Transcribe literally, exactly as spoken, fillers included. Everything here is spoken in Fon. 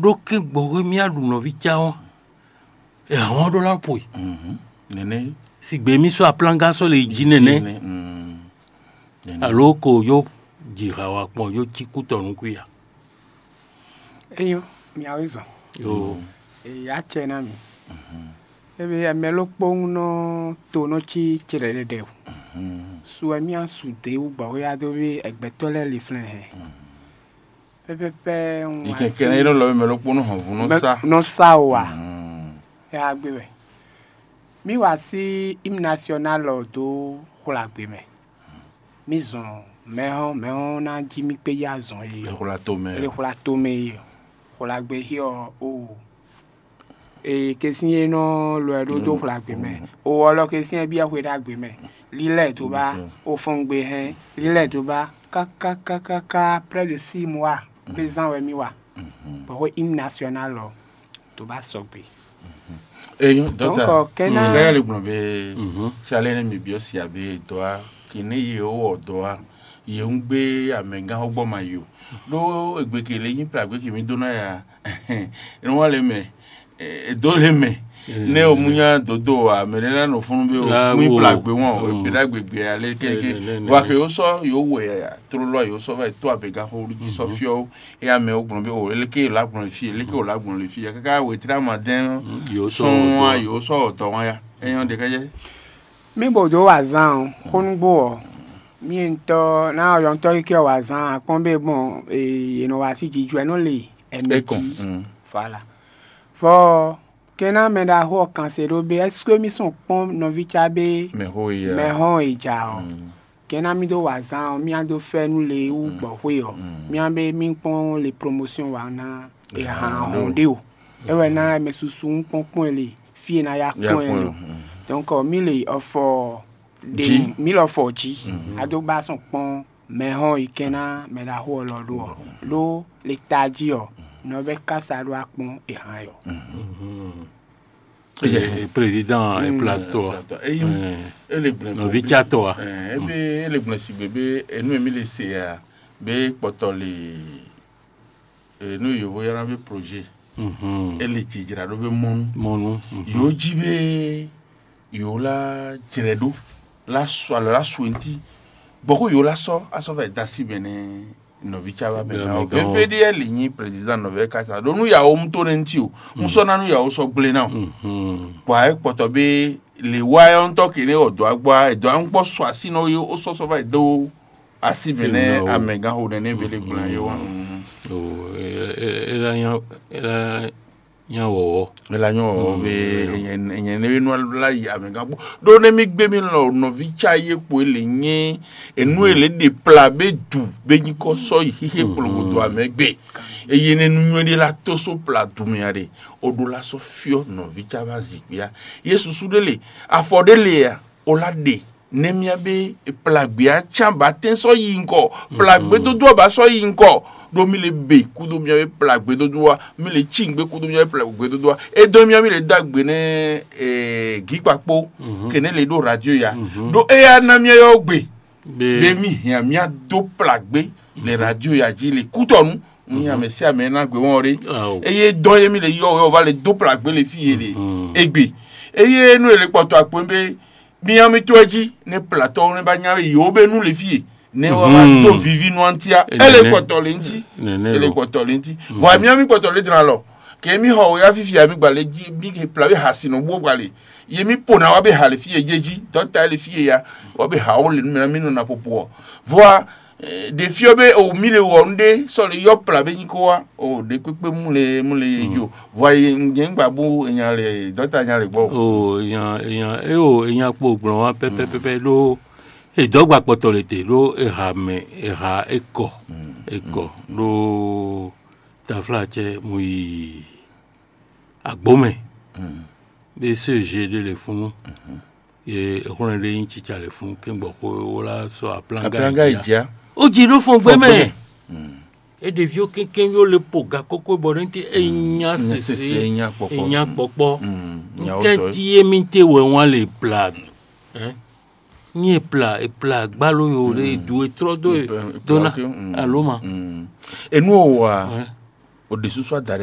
ɖó kɛ́n gbɔhwɛ mì aɖu nɔví cá ɔ́, è hɔn ɖó lá po e. Nɛnɛ. Sigbe mì sɔ́ aplanga sɔ́ le jí nɛnɛ. Nɛnɛ. Mm. Nɛnɛ. Alo ko yó ji ha wa kpɔn yó cí kútɔ nukú ya. Eyo, miawe zɔn. Yo. Eya cɛ na mi. Ebe ɛmɛ ló kpɔ́n nɔ to nɔ cí cɛɖɛɖɛɖɛ o. Su wɛ mì asu de wú gbɔhwɛ ya dó bí ɛgbɛtɔ lɛ́ɛ li flɛn hɛn. Pɛpɛpɛ. Yi kɛkɛ ne ɖo lɔ mɛ ló kpɔ́n nɔ hɔn vun nɔ sa. Nɔ sa o wa. Ya gbe wɛ. Mi wa sí hymne national lɔ dó xwlagbe mɛ. Mi zɔn mɛhɔn mɛhɔn ná jí mi kpé yá zɔn e. Xwla to mɛ. Xwla to mɛ e. Xwlagbe hiɔ o. Ee, kesin e nɔ lɔ ɛ ɖó dó xwlagbe mɛ. O ɔlɔ kesin e biɛ xwe ɖagbe mɛ. Lílẹ̀ tó bá, o fɔn gbe hɛn. Lílẹ̀ tó bá, kákákákáká près de six mois pé zán wɛ mì wa. Bɔ xwe hymne national lɔ tó bá sɔgbe. Eyo Donc, dɔkta, euh, kɛ́n ná- lɛyɛ le gblɔn be si alɛ ne mi biɔ si abe dɔ a kene ye o wɔ dɔ a ye ŋu gbe amɛgán xɔ gbɔ ma yo ɖo egbe ke le nyi plagbe ke mi do na ya. Enɔ wa le mɛ, e do le mɛ. Ne o mu nya dodo a mɛ ɖe na nɔ funu be o La mu yi wo. Plagbe wɔn o Mm. Egbe ɖagbe gbe ale keke Ne, ne, ne, wa ne. Ke o sɔ yo wɛ ya trolo a yo sɔ va yi to amɛgán xɔ olu ji sɔ fiɔ o. Eya mɛ o gblɔn be o eleke la gblɔn le fi eleke o la gblɔn le fi ya kaka wetri ama dɛn. Yo sɔ sɔn wa yo sɔ ɔtɔ wa ya. Eyan de kɛjɛ. Mi bo do wa zan o xonugbo ɔ mi ŋutɔ na yɔntɔ yi kɛ wa zan akpɔn be gbɔn e nɔ wa si jijɔ ɛ nɔ le ɛmɛ Ekɔn. Ji. Voilà. Fɔ kena mɛ ɖaxó ɔ kan se ɖo be est-ce que mi sɔn kpɔn nɔvi ca be Mɛ xo yi ya. Mɛ hɔn e ja ɔ. Kɛ́n ná mì dó wa azǎn ɔ́, mì á dó fɛ́nú le wú gbɔ̌xwé ɔ́, mì á bé mì kpɔ́n le promotion wa ná è hǎn hɔn ɖé o. É wɛ ná mɛ susu ń kpɔ́n kpɔ́n ɛ le fí e ná yá kpɔ́n ɛ le. Donc mì le ɔfɔ ɖe mì le ɔfɔ jí, a dó gbá sɔn kpɔ́n mɛ hɔn yi kɛ́n ná mɛ ɖaxó ɔ́ lɔ ɖó ɔ́, ɖó le tají ɔ́, nɔ vɛ́ kása ɖó akpɔ́n è hǎn ɛ ɔ́. Président e plateau a. Ele gblɛ nɔvi tsatɔ a. Ebe ele gblɛ sigbe be enu emi le se a be kpɔtɔ le enu yovo yɔna be projet. Ele jijra ɖo be mɔnu. Mɔnu. Yo ji be yo la jrɛ ɖo la sɔ alɔ la sɔ enti bɔ ko yo la sɔ asɔ va da si bɛnɛ nɔvi ca va mɛ gan o. Veve ɖi ɛli nyi président nɔvi ka sa ɖo nu yawo mu to ne ŋuti o. Mu sɔ na nu yawo sɔ gble na o. Bɔ ayi kpɔtɔ be le wa yɔ ŋutɔ ke ne ɔ dɔ agbɔ a ɛdɔ aŋkpɔ sɔ asi nɔ ye o sɔsɔ va do asi mɛ nɛ amɛ gan ho nɛ ne vele gbla ye wa. O ela nya ela nya wɔwɔ. Ela nyɔ be nyɛ ne nu la yi amɛ gan kpɔ ɖo ne mi gbe mi lɔ nɔvi ca ye kpo ele nye enu ele ɖe pla be du be nyi kɔ sɔ yi xixe kplɔngodo amɛ gbe eye ne nu nyɔ ɖe la to so pla du mɛ ya ɖe o ɖo la sɔ fiɔ nɔvi ca va zikpia ye susu ɖe le afɔ ɖe le ya o la ɖe ne mía be plagbe a can ba tɛn sɔ yi ŋkɔ plagbe dodo a ba sɔ yi ŋkɔ ɖo mi le be kudo mía be plagbe dodo wa mi le ci ŋgbe kudo mía be plagbe dodo wa e dɔ mía mi le do agbe ne gikpakpo kene le ɖo radio ya ɖo eya na mía yɔ gbe be mi hiã mía do plagbe le radio ya ji le kutɔnu mi ame si ame na gbe wɔn ɖe eye dɔ ye mi le yɔ yɔ va le do plagbe le fi ye le egbe eye nu ele kpɔtɔ akpo be Miami to ɛ jí ne platɔ ne ba nya be yewo be nu le fie ne wa ma do vivi nu antia ele kpɔtɔ le ŋti ele kpɔtɔ le ŋti vɔ miami kpɔtɔ le dran lɔ ke mi xɔ o ya fifi ami gba le jí mi ke pla be ha si nɔ bo gba le ye mi po na wa be ha le fie je jí dɔta le fie ya wa be ha o le nu mɛ mi nɔ na popo ɔ vɔa ɖe fiɔ be o mi le wɔ nu ɖe sɔ le yɔ pla be nyi ko wa o ɖe kpekpe mu le mu le ye jo vɔa ye ŋgɛ ŋgba bo nya le dɔta nya le gbɔ. O nya nya e o nya kpo gblɔn wa pɛpɛpɛpɛ ɖo edɔgba kpɔtɔ le te ɖo eha mɛ eha ekɔ ekɔ ɖo tafla cɛ mu yi agbomɛ be se je ɖe le funu ye exlɔn ɖe nyi tsitsa le funu ke gbɔ ko wo la sɔ aplanga yi ja o ji ɖo fɔn gbɛ mɛ e ɖeviwo kɛnkɛn yo le po ga koko bɔ ne te e nya sese e nya kpɔkpɔ nya kpɔkpɔ nkɛ di ye mi te wɛ wan le pla nye pla e pla gbalo yo le du e trɔ do e dona alo ma enu o wa o de susu ada ɖe